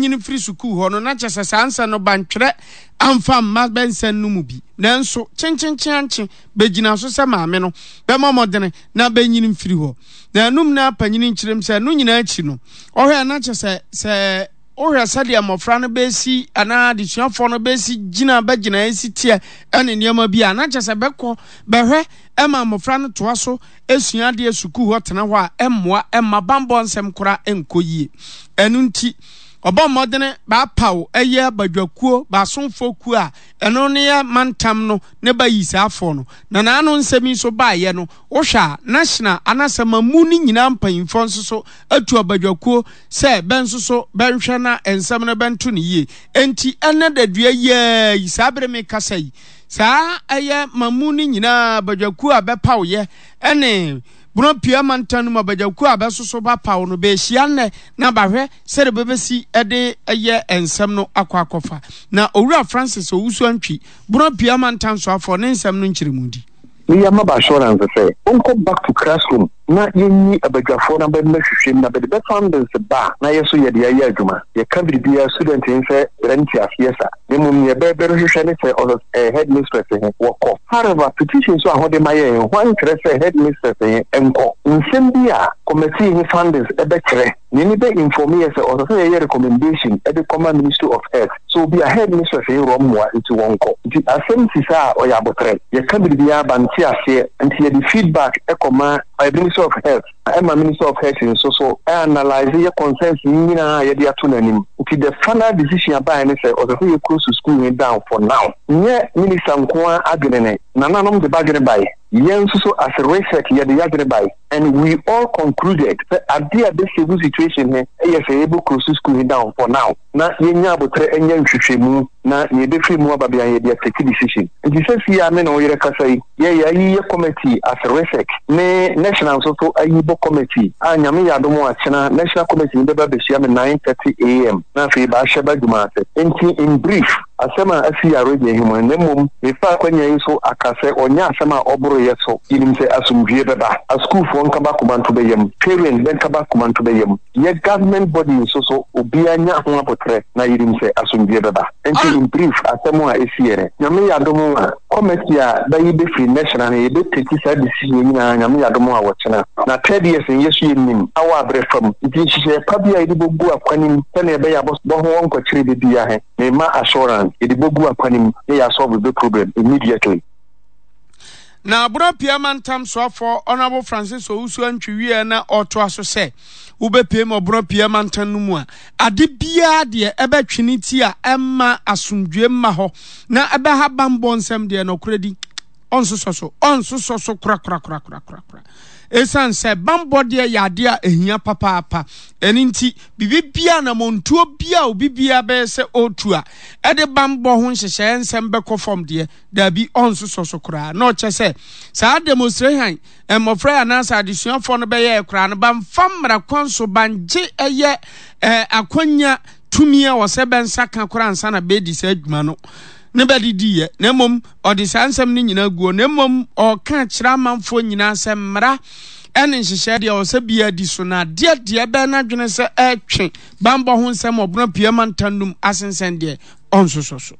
nyini mfiri sukuu hɔ no, na kyerɛ sɛ saa nsɛm no bantwerɛ amfa mma bɛ nsɛm no mu bi. Nanso kyenkyenkyeankye bɛgyina so sɛ maame no bɛmmɔ mmɔdene na bɛnyini mfiri hɔ. Na ɛnom na panyini nkyerɛm sɛ ɛno nyinaa akyi no, ɔhwɛ na kyerɛ sɛ sɛ wohwɛ sɛdeɛ mmɔfra no bɛsi anaa adesuafoɔ no bɛsi gyina bɛgyina ɛsi teɛ ɛne nneɛma bi a na kyerɛ sɛ bɛkɔ bɛhwɛ ɛma mmɔfra no toa so sua adeɛ sukuu hɔ tena hɔ a ɛmmoa ɛmma bammɔ nsɛm koraa ɛnkɔ yie. Ɛno nti ɔbɔ mmɔdene baapaw ɛyɛ badwakuo baasomfoɔ kuo a ɛno ne yɛ mantam no ne ba yi saa afoɔ no. Na n'ano nsɛm yi nso baeɛ no wohwɛ a national anaasɛ mamu no nyinaa mpanyinfoɔ nso so atu abadwakuo sɛ bɛ nso so bɛnhwɛ na nsɛm no bɛnto no yie. Enti ɛnɛ dadua yi ara yi saa bere mekasa yi Saa ɛyɛ ma mu no nyinaa badwakuo a bɛpaw yɛ ne Bono Pia mantam no mu abadwakuo a bɛsoso bɛpaw no bɛahyia nnɛ na bahwɛ sɛdeɛ bɛbɛsi de yɛ nsɛm no akɔ akɔfa. Na Owura Francis Owusu Antwi, Bono Pia mantam soafoɔ ne nsɛm no nkyerɛmu di. Meyɛ ama bɛ assurance sɛ wɔnkɔ back to classroom na yɛnyi abadwafoɔ na bɛ mmɛhwehwɛ mu na bɛde bɛ findings ba a na yɛ so yɛde ayɛ adwuma. Yɛka biribiara student nsɛ brɛ nteaseɛ sa na mmom neɛ bɛ bɛhwehwɛ ne sɛ ɔsɛ sɛ headmistress he wɔkɔ. However, petition so a hode ma yɛn he hwan nkyerɛ sɛ headmistress he nkɔ. Nsɛm bi a committee he findings bɛkyerɛ. Nea bɛ inform yɛ sɛ ɔsɛ sɛ yɛyɛ recommendation de kɔma Ministry of Health sɛ obi a headmistress he rɔmmoa nti wɔnkɔ. Nti asɛm si saa a ɔyɛ aboterɛ. Yɛka biribiara ba nte aseɛ nti yɛde feedback kɔma Ministry of Health ɛma Ministry of Health nso so analyse yɛ concerns yi nyinaa a yɛde ato n'anim. Nti the final decision a baeɛ ne sɛ ɔsɛ sɛ yɛ close school he down for now. Nyɛ Minister nko ara adwene ne, nananom de b'adwene bae, yɛn nso so as RESEC yɛde y'adwene bae. And we all concluded sɛ adeɛ a ɛbɛ save situation he yɛ sɛ yɛbɛ close school he down for now na yɛnya aboterɛ nyɛ nhwehwɛmu na nea ɛbɛfiri mu aba biara yɛde atake decision. Nti sɛsii a me ne wo yerɛ kasa yi, yɛ yɛayi yɛ committee as RESEC ne National nso so ayi bɔ committee a Nyame yɛ adom a kyena National committee no bɛba abɛhyia me 9:30 am na afei bɛahyɛ b'adwuma ase. Nti in brief, Asɛm a asi yɛ awerɛhoɔ mu, na mmom mefa akwanya yi so aka sɛ ɔnyɛ asɛm a ɔboro yɛ so. Yɛnim sɛ asomdwoeɛ bɛba. Asukuufoɔ nkaba akoma nto bɛyam. Parents bɛnkaba akoma nto bɛyam. Yɛ government body nso so obiara nya ho aboterɛ na yɛnim sɛ asomdwoeɛ bɛba. Nti in brief asɛm a ɛsi yɛ nɛ. Nyame yɛ adom a committee a bɛyi bɛfiri national no yɛbɛ take saa decision yi nyinaa Nyame yɛ adom a wɔkyena. Na third years no yɛso yɛnim awɔ aberɛ fam nti nhyehyɛeɛ pa bi a yɛde bɛgu akwanim sɛdeɛ ɛbɛyɛ a bɔho wɔnkɔkyere bɛbiara he. Me ma assurance yɛde bɔ gu akwan mu na yɛ solve bɛ problem immediately. Na Borɔpia mantam soafoɔ Honourable Francis Owusu Antwi wieɛ na ɔretoa so sɛ, wobɛpue ma Borɔpia mantam no mu a, ade biara deɛ ɛbɛtwe ne ti a ɛmma asomdwoeɛ mma hɔ na ɛbɛha bammɔ nsɛm deɛ nɔkorɛ di ɔnsosɔ so, ɔnsosɔ so korakorakorakorakora. Ɛsiane sɛ bammɔ deɛ yɛ adeɛ a ɛhia papaapa, ɛno nti biribi biara anammɔntuo biara a obi biara bɛyɛ sɛ ɔretu a ɛde bammɔ ho nhyehyɛeɛ nsɛm bɛkɔ fam deɛ, daabi, ɔnsosɔ so koraa. Na ɔkyɛ sɛ saa demonstration mmɔfra yi anaasɛ adesuafoɔ no bɛyɛɛ koraa no, bamfa mmara kwan so, bangye ɛyɛ eh, akwanya tumi a ɔsɛ bɛnsa ka koraa ansa na bɛdi saa adwuma no ne bɛde diiɛ, na mmom ɔde saa nsɛm no nyinaa guo, na mmom ɔreka kyerɛ amanfoɔ nyinaa sɛ mmara ɛne nhyehyɛɛ deɛ ɔsɛ biara di so, na adeɛ deɛ ɛbɛn n'adwene sɛ ɛretwe banbɔ ho nsɛm ɔbono pia mantam no mu asensɛn deɛ ɔnsosɔ so.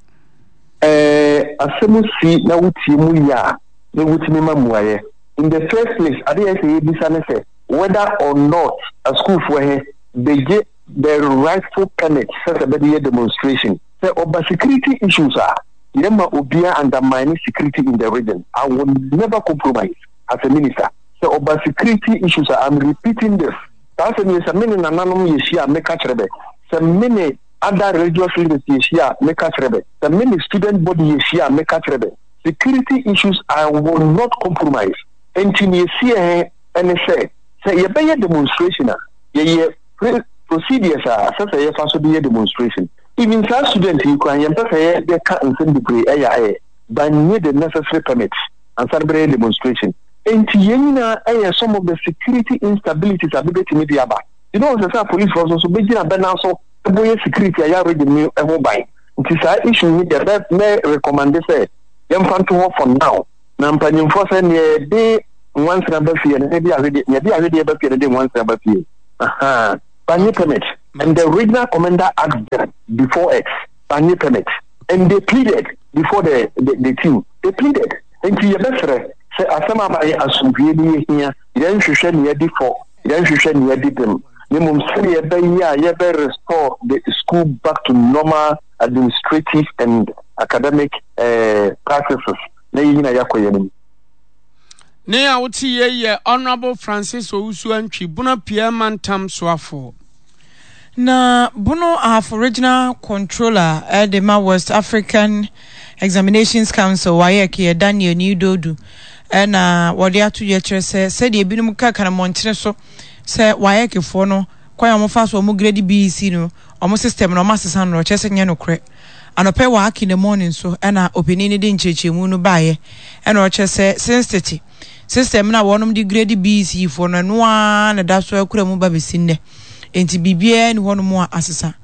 Ɛɛ asɛm si na wotie mu yie a na wotumi ma mmuaeɛ. In the first place, adeɛ a ɛsɛ sɛ yɛbisa ne sɛ whether or not asukuufoɔ he begye the rightful permit sɛ sɛ bɛde yɛ demonstration. Sɛ ɔba security issues a, yɛmma obiara undermine security in the region. I will never compromise as a minister. Sɛ ɔba security issues a, I'm repeating this. Saa asɛm yi sɛ me ne nananom yɛhyia a meka kyerɛ bɛ, sɛ me ne other religious leaders yɛhyia a meka kyerɛ bɛ, sɛ me ne student body yɛhyia a meka kyerɛ bɛ. Security issues I will not compromise. Enti nea ɛsiɛ he ne sɛ, sɛ yɛbɛyɛ demonstration a, yɛyɛ pre procedures a ɛsɛ sɛ yɛfa so de yɛ demonstration. Even saa student yi koraa yɛmpɛ sɛ yɛ bɛka nsɛm bebree ɛyɛ ayɛ bannye the necessary permit ansa na bɛyɛ demonstration. Enti yɛn nyinaa ɛyɛ some of the security instabilities a bɛbɛtumi de aba. You know sɛ sɛ apolicefoɔ nso so bɛgyina bɛ nan so bɔ yɛ security a yɛ region no ho ban. Nti saa issue yi deɛ mɛ mɛ recommende sɛ yɛmfa nto hɔ for now. Na mpanyimfoɔ sɛ neɛ yɛde nwansena ba fie no ne de ahwedeɛ neɛ yɛde ahwedeɛ ba fie no de nwansena ba fie. Ahaa. Bannye permit. And the regional commander asked them before it, banye permit. And they pleaded before the, the, the team. They pleaded. Nti yɛbɛsrɛ sɛ asɛm aba yɛ asomdwie ne yɛhia, yɛnhwehwɛ ne yɛdi fɔ, yɛnhwehwɛ ne yɛdi bem. Na mmom sɛdeɛ ɛbɛyɛ a yɛbɛ restore the school back to normal administrative and academic eh, practices na yɛn nyinaa yɛakɔ yɛn anim. Ne a wote yei yɛ Honourable Francis Owusu Antwi, Bono Apueɛ Mantam soafoɔ. Na Bono Ahafo Regional Controller de ma West African Examinations Council, WAEC, yɛ Daniel Nii Dodu na wɔde ato dwa kyerɛ sɛ sɛdeɛ ebinom ka ka no mmɔntene so sɛ WAEC foɔ no kwan a wɔfa so wɔn grade BEC no wɔn system no wɔn asesa no kyerɛ sɛ nyɛ nokorɛ. Anɔpa yi wɔ Ack in the Morning so na ɔpanin no de nkyerɛkyerɛmu no baeɛ na ɔkyerɛ sɛ since tete system no a wɔnom de grade BEC foɔ no ɛno ara na ɛda so akura mu ba bɛsi nnɛ enti biribiara nni hɔnom a asesa.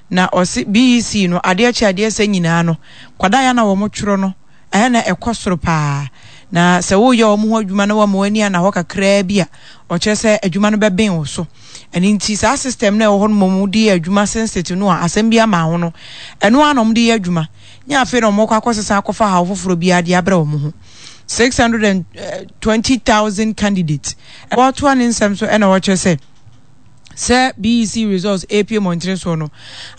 Na ɔse BEC no adeɛ kye adeɛ sɛ nyinaa no kwadaa yɛ na wɔn twerɛ no ɛyɛ na ɛkɔ soro paa na sɛ woyɛ wɔn ho adwuma na wɔama w'ani ana hɔ kakraa bi a ɔkyerɛ sɛ adwuma no bɛben wo so. Ɛno nti saa system no a ɛwɔ hɔ no mmom de yɛ adwuma sense no a asɛm bi ama ho no, ɛno ara na wɔde yɛ adwuma. Nyɛ afei na wɔkɔ akɔsesa akɔfa haw foforɔ biara de abrɛ wɔn ho. 620,000 candidates. Wɔtoa ne nsɛm so ɛna wɔkyerɛ sɛ sɛ BEC results ɛrepue mmɔntene soɔ no,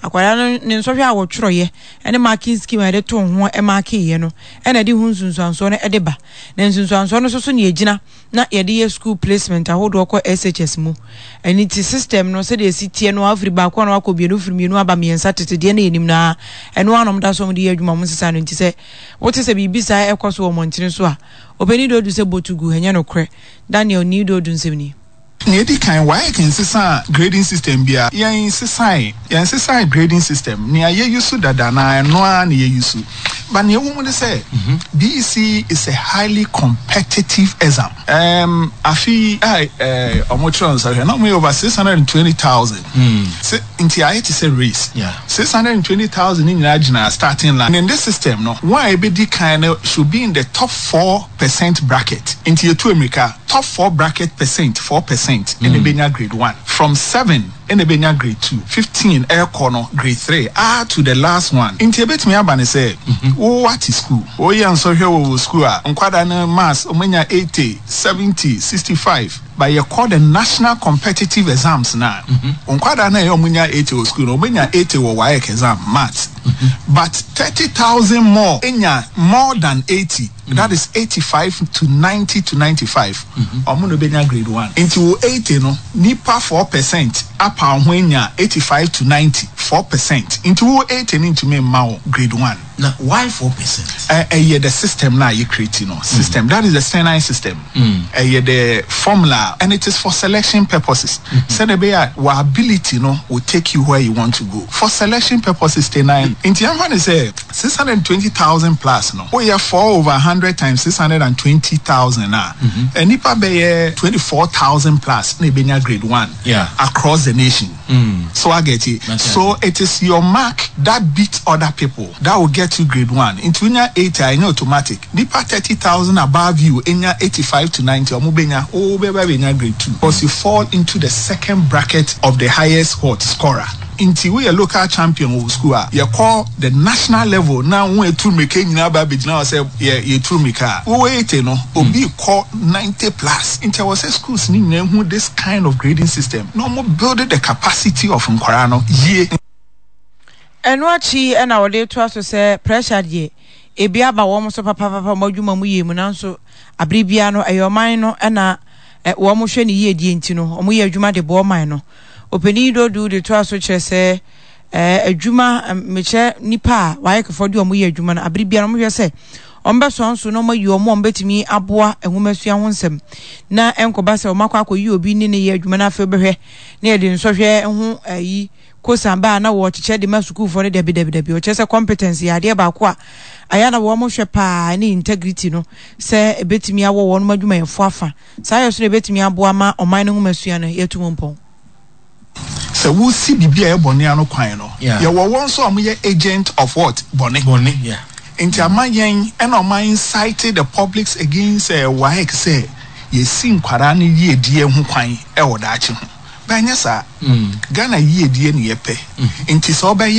akwadaa no ne nsɔhwɛ a wɔtwerɛeɛ ne marking scheme a yɛde too ho markeeɛ no ɛna ɛde ho nsunsuansoɔ no ɛde ba. Na nsunsuansoɔ no nso so na ɛgyina na yɛde yɛ school placement ahodoɔ kɔ SHS mu. Ɛno nti system no sɛdeɛ ɛsi teɛ no ara wofiri baako a na wakɔ mmienu, wofiri mmienu aba mmiɛnsa tete deɛ na yɛnim no ara ɛno ara na wɔda so wɔde yɛ adwuma wɔn nsesa no nti sɛ wote sɛ biribi saa ɛkɔ so wɔ mmɔntene so a ɔpanin Dodu sɛ botu gu ɛnyɛ nokorɛ. Daniel Nii Dodu nsɛm ni. Nea edi kan, WAEC nsesaa grading system biara. Yɛn sesae, yɛn sesae grading system. Nea yɛ use dada no ara, ɛno ara na yɛ use. But nea ɛwɔ mu ne sɛ, BEC is a highly competitive exam. Erm, afe yi a eh, wɔn kyerɛw nsɔhwɛ, na wɔn yɛ over 620,000. Se, nti ayɛ te sɛ race. 620,000 no nyinaa gyina starting line. And in this system no, wɔn a ebedi kan no should be in the top 4% bracket. Nti yɛtu mmirika, top four bracket percent, 4%, ɛna ebenya grade one. From seven ɛna ɛbɛnya grade two, 15 ɛrekɔ no grade three ah to the last one. Nti ɛbɛtumi aba no sɛ wo wate school, woyɛ nsɔhwɛ wɔ wo school a, nkwadaa no maths wɔanya 80, 70, 65, but yɛkɔ the national competitive exams no a, wo nkwadaa no a ɛyɛ wɔnya 80 wɔ school no, wɔbɛnya 80 wɔ WAEC exam, maths, but 30,000 more nya more than 80. That is 85 to 90 to 95 ɔmo na obenya grade one. Nti wo 80 no nipa 4% apaw ho anya 85 to 90, 4%. Nti wo 80 no ntumi mma wo grade one. Na why 4%? Ɛ ɛyɛ the system no a yɛ create no system that is the Senai system ɛyɛ the formula and it is for selection purposes sɛdeɛ ɛbɛyɛ a wɔ ability no will take you where you want to go for selection purposes Tenai nti yɛmfa no sɛ 620,000 plus no, woyɛ four over hundred times 620,000 a, nnipa bɛyɛ 24,000 plus na ebenya grade one across the nation. So I get it. So it is your mark that beats other people that will get you grade one. Nti wonya 80 a, ɛnyɛ automatic. Nnipa 30,000 above you nya 85 to 90, wɔn benya, wo bɛba benya grade two because you fall into the second bracket of the highest what scorer. Nti woyɛ local champion wɔ wo school a, yɛkɔ the national level na wɔn a ɛtu mmirika nyinaa ba abɛgyina hɔ sɛ yɛ yɛtu mmirika a, wowɔ 80 no, obi rekɔ 90 plus. Nti ɛwɔ sɛ schools no nyinaa hu this kind of grading system na wɔn build the capacity of nkwadaa no yie. Ɛno akyi na wɔde retoa so sɛ pressure deɛ, ebi aba wɔn so papapapa wɔn adwuma mu yie mu nanso abere biara no ɛyɛ ɔman no na wɔhwɛ ne yiedie nti no wɔyɛ adwuma de boa ɔman no. Ɔpanin Dodu de toa so kyerɛ sɛ adwuma mekyerɛ nnipa a wɔayɛ kefoɔ de wɔn yɛ adwuma no abere biara wɔhwɛ sɛ wɔbɛsɔn so na wɔayi wɔn a wɔbɛtumi aboa nwomasua ho nsɛm na ɛnkɔba sɛ wɔakɔ akɔyi obi ne ne yɛ adwuma no afei wobɛhwɛ na yɛde nsɔhwɛ ho ayi kosa ba a na wɔkyekyɛ de ma sukuufoɔ no dabi dabi dabi ɔkyerɛ sɛ competence yɛ adeɛ baako a ayɛ na wɔn hwɛ paa ne integrity no sɛ ɛbɛtumi awɔ wɔn adwumayɛfoɔ afa Saa yɛ so na ebetumi aboa ma ɔman no nhomasua no yɛatu mu mpɔn. Sɛ wosi biribi a ɛyɛ bɔne ano kwan no, yɛwɔ wɔn nso a wɔyɛ agent of what? Bɔne. Nti ama yɛn ɛna wɔn a incite the publics against WAEC sɛ yɛsi nkwadaa no yiedie ho kwan wɔ daakye ho. But ɛnyɛ saa. Ghana yiedie ne yɛpɛ. Nti sɛ wobɛyɛ.